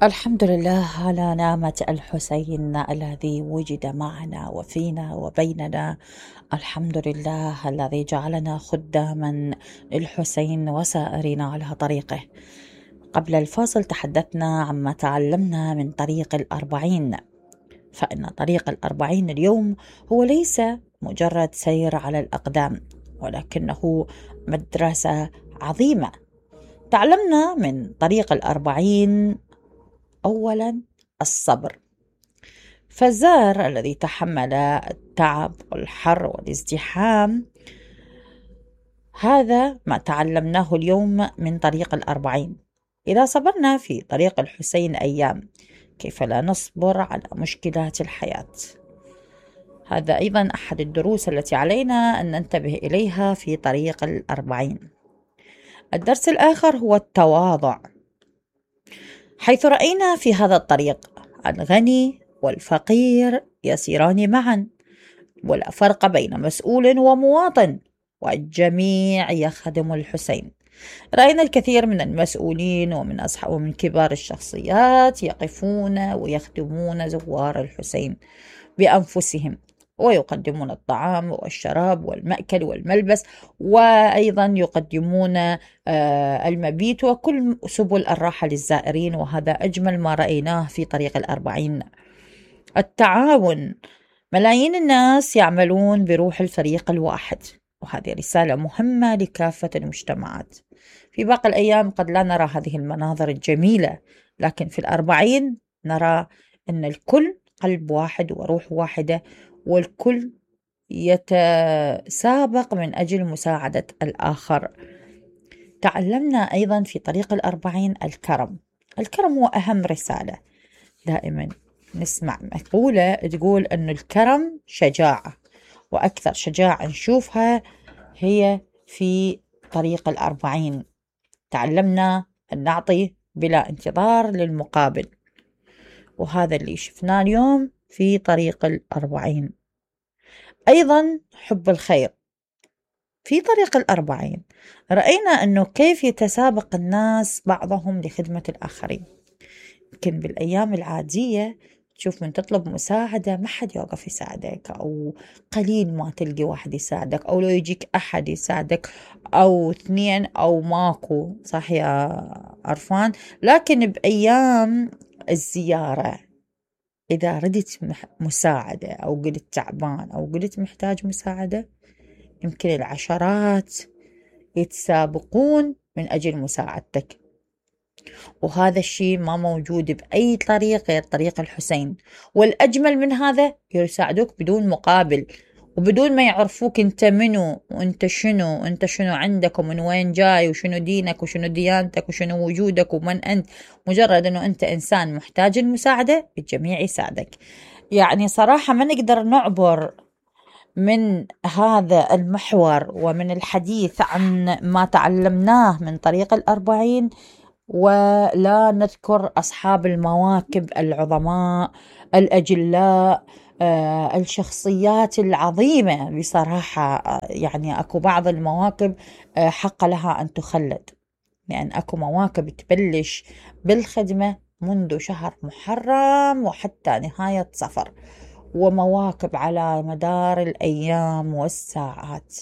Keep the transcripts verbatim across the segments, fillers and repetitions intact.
الحمد لله على نعمة الحسين الذي وجد معنا وفينا وبيننا. الحمد لله الذي جعلنا خداما للحسين وسائرين على طريقه. قبل الفاصل تحدثنا عما تعلمنا من طريق الأربعين، فإن طريق الأربعين اليوم هو ليس مجرد سير على الأقدام، ولكنه مدرسة عظيمة. تعلمنا من طريق الأربعين أولا الصبر، فالزار الذي تحمل التعب والحر والازدحام، هذا ما تعلمناه اليوم من طريق الأربعين. إذا صبرنا في طريق الحسين أيام، كيف لا نصبر على مشكلات الحياة؟ هذا أيضا أحد الدروس التي علينا أن ننتبه إليها في طريق الأربعين. الدرس الآخر هو التواضع، حيث رأينا في هذا الطريق الغني والفقير يسيران معا، ولا فرق بين مسؤول ومواطن، والجميع يخدم الحسين. رأينا الكثير من المسؤولين ومن أصحاب ومن كبار الشخصيات يقفون ويخدمون زوار الحسين بأنفسهم، ويقدمون الطعام والشراب والمأكل والملبس، وأيضا يقدمون المبيت وكل سبل الراحة للزائرين، وهذا أجمل ما رأيناه في طريق الأربعين. التعاون، ملايين الناس يعملون بروح الفريق الواحد، وهذه رسالة مهمة لكافة المجتمعات. في باقي الأيام قد لا نرى هذه المناظر الجميلة، لكن في الأربعين نرى أن الكل قلب واحد وروح واحدة، والكل يتسابق من أجل مساعدة الآخر. تعلمنا أيضا في طريق الأربعين الكرم. الكرم هو أهم رسالة. دائما نسمع مقولة تقول أن الكرم شجاعة، وأكثر شجاعة نشوفها هي في طريق الأربعين. تعلمنا أن نعطي بلا انتظار للمقابل، وهذا اللي شفناه اليوم في طريق الأربعين. أيضا حب الخير. في طريق الأربعين رأينا أنه كيف يتسابق الناس بعضهم لخدمة الآخرين. يمكن بالأيام العادية تشوف من تطلب مساعدة ما حد يوقف يساعدك، أو قليل ما تلقي واحد يساعدك، أو لو يجيك أحد يساعدك أو اثنين أو ماكو، صح يا عرفان؟ لكن بأيام الزيارة إذا ردت مساعدة أو قلت تعبان أو قلت محتاج مساعدة، يمكن العشرات يتسابقون من أجل مساعدتك، وهذا الشيء ما موجود بأي طريق غير طريق الحسين. والأجمل من هذا يساعدوك بدون مقابل، وبدون ما يعرفوك أنت منو وأنت شنو وأنت شنو عندك ومن وين جاي وشنو دينك وشنو ديانتك وشنو وجودك ومن أنت. مجرد أنه أنت إنسان محتاج المساعدة الجميع يساعدك. يعني صراحة ما نقدر نعبر من هذا المحور ومن الحديث عن ما تعلمناه من طريق الأربعين ولا نذكر أصحاب المواكب العظماء الأجلاء، آه الشخصيات العظيمة بصراحة. آه يعني أكو بعض المواكب آه حق لها أن تخلد، لأن أكو مواكب تبلش بالخدمة منذ شهر محرم وحتى نهاية صفر، ومواكب على مدار الأيام والساعات.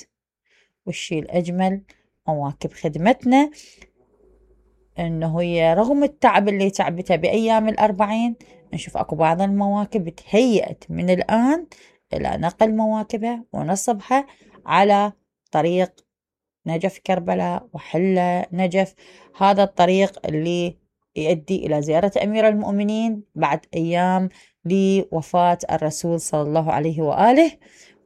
والشيء الأجمل مواكب خدمتنا إنه هي رغم التعب اللي تعبتها بأيام الأربعين، نشوف أكو بعض المواكب تهيأت من الآن إلى نقل مواكبها ونصبها على طريق نجف كربلاء وحلة نجف، هذا الطريق اللي يؤدي إلى زيارة أمير المؤمنين بعد أيام لوفاة الرسول صلى الله عليه وآله.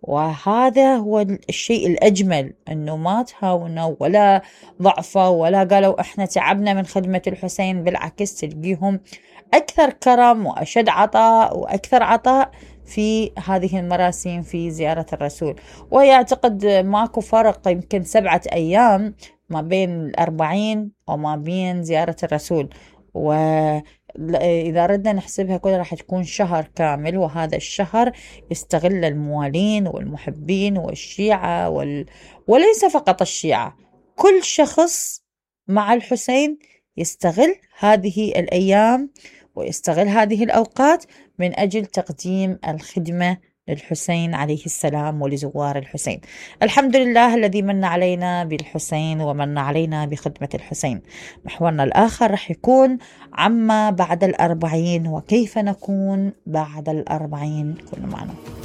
وهذا هو الشيء الأجمل، أنه ما تهاونوا ولا ضعفوا ولا قالوا إحنا تعبنا من خدمة الحسين، بالعكس تلقيهم أكثر كرم وأشد عطاء وأكثر عطاء في هذه المراسم في زيارة الرسول. ويعتقد ماكو فرق يمكن سبعة أيام ما بين الأربعين وما بين زيارة الرسول، وإذا ردنا نحسبها كلها راح تكون شهر كامل. وهذا الشهر يستغل الموالين والمحبين والشيعة وال... وليس فقط الشيعة، كل شخص مع الحسين يستغل هذه الأيام ويستغل هذه الأوقات من أجل تقديم الخدمة للحسين عليه السلام ولزوار الحسين. الحمد لله الذي من علينا بالحسين ومن علينا بخدمة الحسين. محورنا الآخر رح يكون عما بعد الأربعين وكيف نكون بعد الأربعين. كونوا معنا.